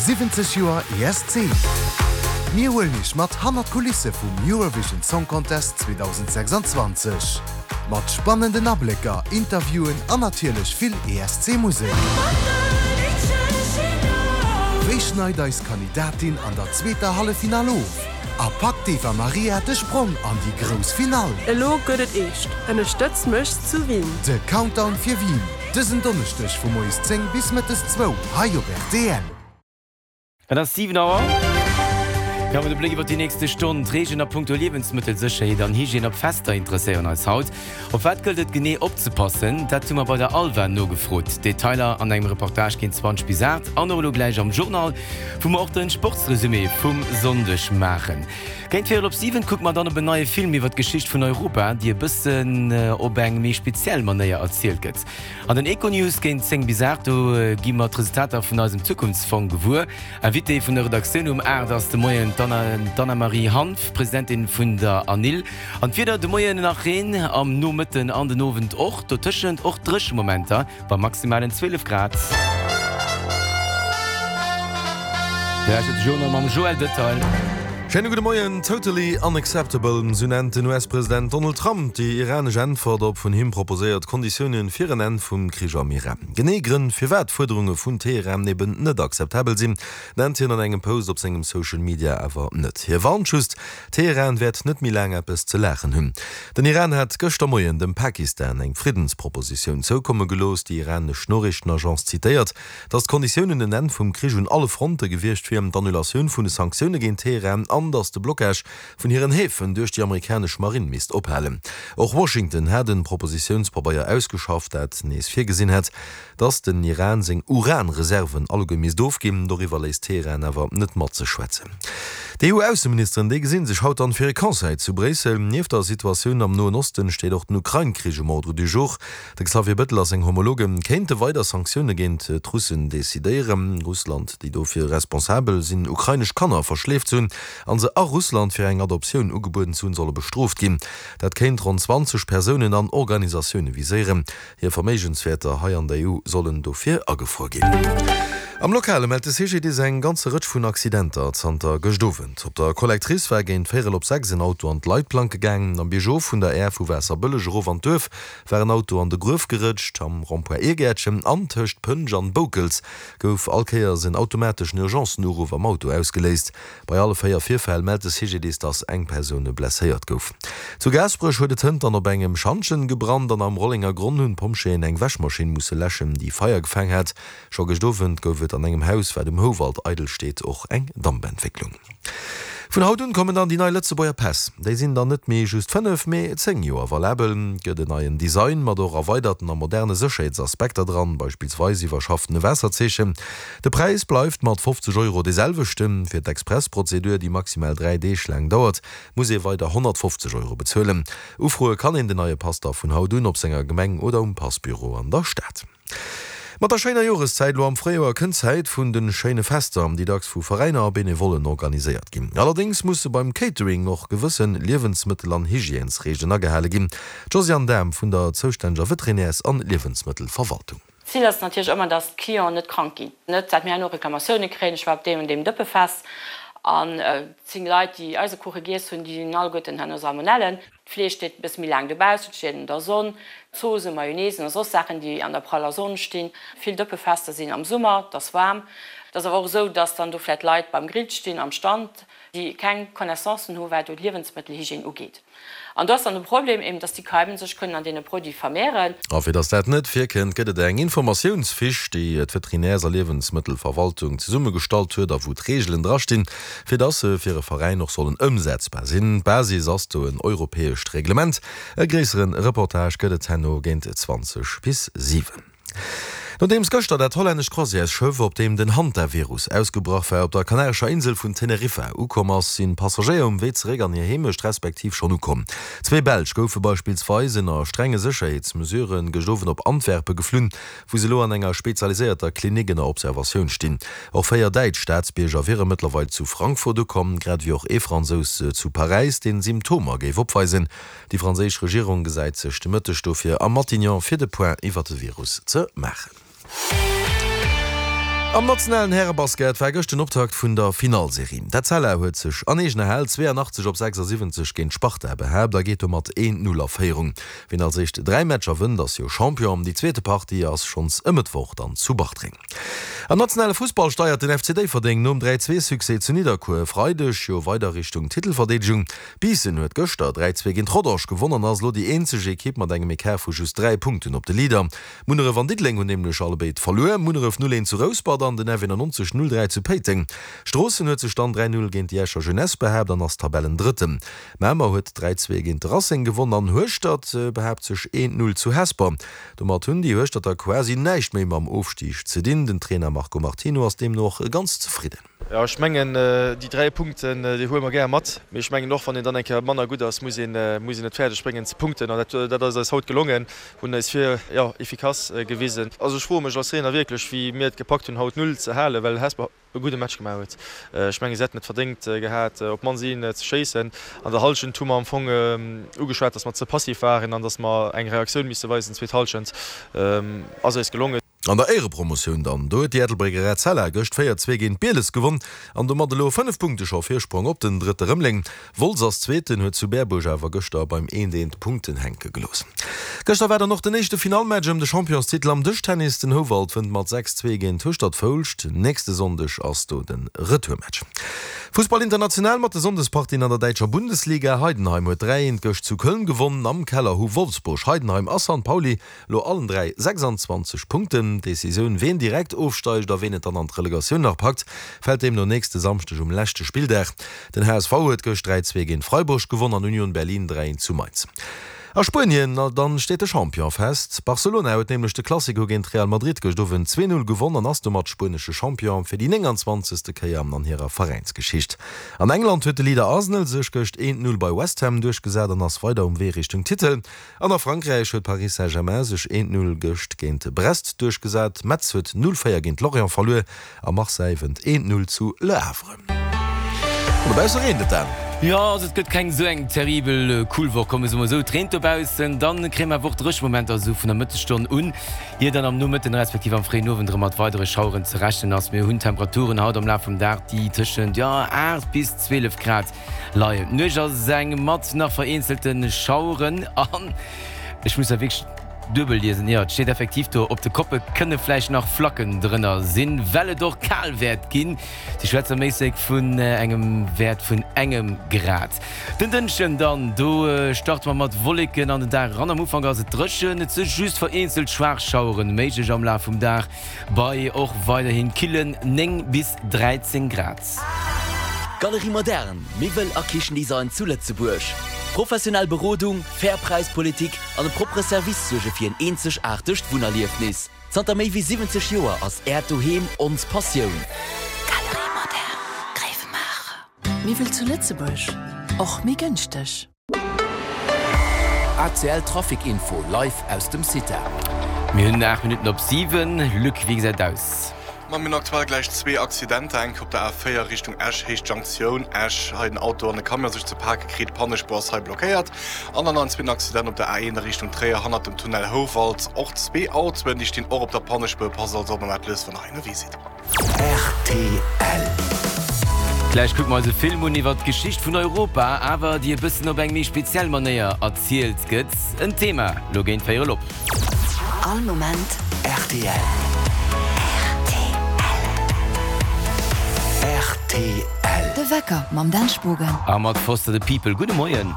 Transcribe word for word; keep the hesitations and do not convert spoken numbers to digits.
Siwwenzeg Joer E S C! Mir huelen iech mat hannert d'Kulisse vum Eurovision Song Contest zweedausendsechsanzwanzeg. Mat spannenden Ablécker, Interviewen an natierlech vill E S C-Musek. Wéi schneit eis Kandidatin an der zweeter Halleffinall of? A packt d'Eva Marija de Sprong an déi grouss Finall? Elo gëtt et eescht, Ënnerstëtz mech zu Wien! De Countdown fir Wien, dësen Donneschdeg vu moies zéng bis mëttes zwou hei op R T L. Et ass siwen Auer. Jo, mat de Bléck iwwer déi nächste Stonn, D'Reegelen a punkto Liewensmëttelsécherheet an Hygiène op Fester interesséieren eis haut. Op wat gëllt et genee opzepassen? Dat hu mer bei der ALVA nogefrot. Detailer an engem Reportage géint zwanzeg bis aacht an och elo gläich am Journal, wou mer och den Sportsresumé vum Sonndeg maachen. Géint véierel op siwen kucke mer dann op en neie Film iwwer d'Geschicht vun Europa, déi e bëssen op eng méi speziell Manéier erzielt gëtt. An den Econews géint zéng bis aacht, do gi mer d'Resultater vun eisem Zukunftsfong gewuer. Invitée vun der Redaktioun um aacht ass de Moien d'Anna-Marie Hanff, Presidentin vun der ANIL. An d'Wieder, de Moien nach Reen, am Nomëtten an den Owend och, dotëschent och dréche Momenter bei maximalen zwielef Grad. De Journal mam Joël Detail. Schéine gudde Moien. Totally unacceptable, sou nennt den U S-President Donald Trump déi iranesch Äntwert op vun him proposéiert Konditioune fir en Enn vum Krich am Iran. Genee Grënn, firwat d'Fuerderunge vun Teheran eben net akzeptabel sinn, nennt hien an engem Post op sengem Social Media awer net. Hie warnt just, Teheran wäert net méi laang eppes ze laachen hunn. Den Iran hat gëschter Moien dem Pakistan eng Friddenspropositioun zoukomme gelooss. Déi iranesch Noriichtenagence zitéiert, datt d'Konditiounen en Enn vum Krich un alle Fronte gewiescht wieren, d'Annulatioun vun de Sanktioune géint Teheran an datt de Blockage vun hiren Häfen duerch déi amerikanesch Marinn misst ophalen. Och Washington hat e Propositiounspabeier ausgeschafft, dat nees virgesinn hätt, datt den Iran seng Uranreserven alleguer misst ofginn. Doriwwer léisst Teheran awer net mat sech schwätzen. D'E U-Ausseministeren, déi gesinn sech haut dann fir e Conseil zu Bréissel. Nieft der Situatioun am Noen Osten steet och den Ukrain-Krich um Ordre du jour. De Xavier Bettel a seng Homologe kéinte weider Sanktioune géint d'Russen decidéieren. Russland, déi dofir responsabel sinn, ukrainesch Kanner verschleeft ze hunn an se a Russland fir eng Adoptioun ugebueden ze hunn, solle bestrooft ginn. Dat kéint ronn zwanzeg Persounen an Organisatioune viséieren. Hir Verméigenswäerter hei an der E U sollen dofir agefruer ginn. Am Lokale mellt de C G D I S eng ganze Rëtsch vun Accidenter zanter gëscht Owend. Op der Collectrice war géint véierel op sechs en Auto an d'Leitplanke gaangen. Am Biergof vun der Aire vu Waasserbëlleg erof an d'Duerf war en Auto an de Gruef gerëtscht. Am Rond-point Irgäertchen an tëscht Pënsch an Boukels gouf all Kéiers en automateschen Urgencen-Uruff am Auto ausgeléist. Bei alle véier Virfäll mellt de C G D I S, dass eng Persoun blesséiert gouf. Zu Gaasperech huet et hënt dann op engem Schantjen gebrannt an am Rollengergronn hunn d'Pompjeeën eng Wäschmaschinn musse läschen, déi Feier gefaangen hat. Scho gëscht Owend gouf et an engem Haus, wat um Houwald eidel steet, och eng Dampentwécklung. Vun haut un kommen dann déi nei Lëtzebuerger Päss. Déi sinn dann net méi just fënnef, mee zéng Joer valabel. Gëtt en neien Design mat och erweiderten a moderne Sécherheetsaspekter dran, beispillsweis iwwerschaffte Waasserzeechen. De Präis bleift mat fofzeg Euro dee selwechten. Fir d'Expressprozedur, déi maximal dräi Deeg laang dauert, muss ee weider honnertfofzeg Euro bezuelen. Ufroe kann een den neie Pass da vun haut un op senger Gemeng oder um Passbüro an der Stad. Mat der schéiner Joreszäit lo am Fréijoer kënnt d'Zäit vun de schéine Fester, déi dacks vu Veräiner a Benevollen organiséiert ginn. Allerdéngs musse beim Catering och gewësse Liewensmëttel an Hygiènesreegelen agehale ginn. D'Josiane Dahm vun der zoustänneger Veterinärs an Liewensmëttelverwaltung. Zil ass natierlech ëmmer, dass d'Clienten net krank ginn. Net dat mir herno Reklamatioune kréien, ech war op deem an deem Dëppefest an zéng Leit, déi Eisekuche giess hunn, déi hunn alleguerten herno Salmonellen. D'Fleesch steet e bësse méi laang dobaussen, et steet an der Sonn, Zoossen, Mayonnaisen a soss Saachen, déi an der praller Sonn stinn. Vill Dëppefester sinn am Summer, et ass waarm. Et ass awer och esou, dass dann do vläicht Leit beim Grill stinn am Stand, déi keng Connaissancen hu wat do d'Liewensmëttelhygiène ugeet. An do ass dann de Problem eben, dass déi Keimen sech kënnen an deene Produite vermehren. A fir dass dat net virkënnt, gëtt et eng Informatiounsfiche, déi d'Veterinärs a Liewensmëttelverwaltung zesummegestallt huet a wou d'Reegelen drastinn, fir dass se fir e Veräin och sollen ëmsetzbar sinn. D'Basis ass do en europäescht Reglement. E gréissere Reportage gëtt et herno géint zwanzeg bis siwen. Nodeems gëschter dat hollännescht Croisièresschëff, op deem den Hantavirus ausgebrach war, op der Kanarescher Insel vun Teneriffa ukomm ass, sinn d'Passagéier um Wee zeréck an hir Heemecht respektiv schonn ukomm. Zwee Belsch goufe beispillsweis ënner strenge Sécherheetsmesure gëscht Owend op Antwerpe geflunn, wou se elo an enger spezialiséierter Klinik ënner Observatioun stinn. Och véier däitsch Staatsbierger wiere mëttlerweil zu Frankfurt ukomm, grad ewéi och ee Fransous zu Paräis, dee Symptomer géif opweisen. Déi franséisch Regierung gesäit sech de Mëtteg dofir am Matignon fir de Point iwwer de Virus ze maachen. Am nationalen Härebasket war gëscht den Optakt vun der Finallserie. D'Etzella huet sech an eegener Hal zweeanachtzeg op sechsasiwwenzeg géint d'Sparta behaapt a geet domat een Null a Féierung. Wien als éischt dräi Matcher wënnt, ass jo Champion. Déi zweete Partie ass schonns e Mëttwoch dann zu Bartreng. Am nationale Fussball steiert den F C Déifferdeng nom dräi zwee Succès zu Nidderkuer e Freideg jo weider Richtung Titelverdeedegung. Biissen huet gëschter dräi zwee géint Rodange gewonn an ass elo déi eenzeg Ekipp mat engem Ecart vu just dräi Punkten op de Leader. Munneref an Diddeleng hunn nämlech allebéid verluer, Munneref null eent zu Rouspert an den F eenannonzeg null dräi zu Péiteng. Stroossen huet sech dann dräi null géint déi Escher Jeunesse behaapt an ass Tabellendrëtten. Mamer huet dräi zwee géint de Racing gewonn an Hueschtert behaapt sech eent null zu Hesper. Domat hunn déi Hueschterter quasi näischt méi mam Ofstig ze dinn. Den Trainer Marco Martino ass deemno och ganz zefridden. Jo, ech mengen, déi dräi Punkten, déi huele mer gär mat. Mee ech mengen och, wann een dann eng Kéier manner gutt ass, muss een, muss een et fäerdeg bréngen ze punkten. An dat, dat ass eis haut gelongen, hunn eis vir, jo, efficace gewisen. Also ech froe mech als Trainer wierklech, wéi mir et gepackt hunn, haut d'Null ze halen, well Hesper e gudde Match gemaach huet. Ech mengen, si hätten et verdéngt gehat, op d'mannst een ze schéissen. An der Hallschent hu mer am Fong ugeschwat, datt mer ze passiv waren an datt mer eng Reaktioun misse weisen. Zweet Hallschent ass eis gelongen. An der Éierepromotioun dann, do huet déi Ettelbrécker Etzella gëscht véier zwee géint Bieles gewonn an domat elo fënnef Punkte scho Virsprong op den Drëtte Rëmeleng. Wolz ass Zweeten, huet zu Berbuerg awer gëschter beim eent eent Punkten hänke gelooss. Gëschter war dann och den éischte Finallmatch ëm de Championstitel am Dëschtennis. Den Houwald wënnt mat sechs zwee géint Hueschtert-Foulscht. Nächste Sonndeg ass do de Retourmatch. Fussball international mat de Sonndespartien an der däitscher Bundesliga. Heidenheim huet dräi eent gëscht zu Köln gewonnen. Am Keller hu Wolfsburg, Heidenheim a San Pauli lo allen dräi sechsanzwanzeg Punkten. D'Decisioun, ween direkt ofsteigt a ween et dann an d'Relegatioun nach packt, fält deemno nächste Samschdeg um leschte Spilldag. Den H S V huet gëscht dräi zwee géint Freiburg gewonn an Union Berlin dräi eent zu Mainz. A Spuenien dann steet de Champion fest. Barcelona huet nämlech de Clasico géint Real Madrid gëscht Owend zwee null gewonn an ass domat spuenesche Champion fir déi nénganzwanzegste Kéier an hirer Veräinsgeschicht. An England huet de Leader Arsenal sech gëscht eent null bei West Ham duerchgesat an ass weider um Wee Richtung Titel. An a Frankräich huet Paris Saint-Germain sech eent null gëscht géint Brest duerchgesat. Metz huet null véier géint Lorient verluer a Marseille wënnt eent null zu Le Havre. An dobausse reent et dann. Jo, also et gëtt keng esou eng terribel cool Woch, komme se mol esou. Et reent dobaussen, dann kréie mer awer och Dréchmomenter esou vun der Mëttesstonn un, ier dann am Nomëtten respektiv am fréien Owend erëm mat weidere Schaueren ze rechnen ass. Mir hunn Temperaturen haut am Laf vum Dag, déi tëschent, jo, aacht bis zwielef Grad leien. D'Nuecht ass eng mat nach vereenzelte Schaueren an ech muss da wierklech duebel liesen, jo, et steet effektiv do, op de Koppe kënne vläicht nach Flacken drënner sinn, well et och kal wäert ginn. Si schwätze méisseg vun engem Wäert vun engem Grad. Den Dënschden dann, do starte mer mat Wolleken an den Dag eran. Am Ufank ass et dréchen, et si just vereenzelt schwaach Schaueren méiglech am Laf vum Dag, bei och weiderhin killen néng bis dräizéng Grad. Galerie Moderne, Miwwel a Kichendesign zu Lëtzebuerg. Professionell Berodung, fair Präispolitik an e proppere Service suerge fir en eenzegaartegt Wunnerliefnis. Zanter méi wéi siwwenzeg Joer ass Äert Doheem ons Passioun. Galerie Moderne, Gréiwemaacher. Miwwel zu Lëtzebuerg, och méi gënschteg. A C L Trafic Info live aus dem CITA. Mir hunn aacht Minutten op siwen. Luc, wéi gesäit et aus? Ma mir hunn aktuell gläich zwee Accidenter, eng op der A véier Richtung Esch, Héicht Junktioun Esch, hei den Auto an de Camion sech ze pake kritt, d'Pannespuer ass hei blockéiert. An dann nach en zweeten Accident op der A een a Richtung Tréier, hannert dem Tunnel Houwald, och zwee Autoen, déi stinn och op der Pannespuer. Passt also op, mam Atlas, wann der hei ënnerwee sidd. R T L. Gläich kucke mer eis e Film un iwwer d'Geschicht vun Europa, awer déi e bëssen op eng méi speziell Manéier erzielt gëtt. En Thema lo géint véierel op. All Moment R T L. R T L. De Wecker mam Dan Spogen. A mat Foster the People. Gudde Moien.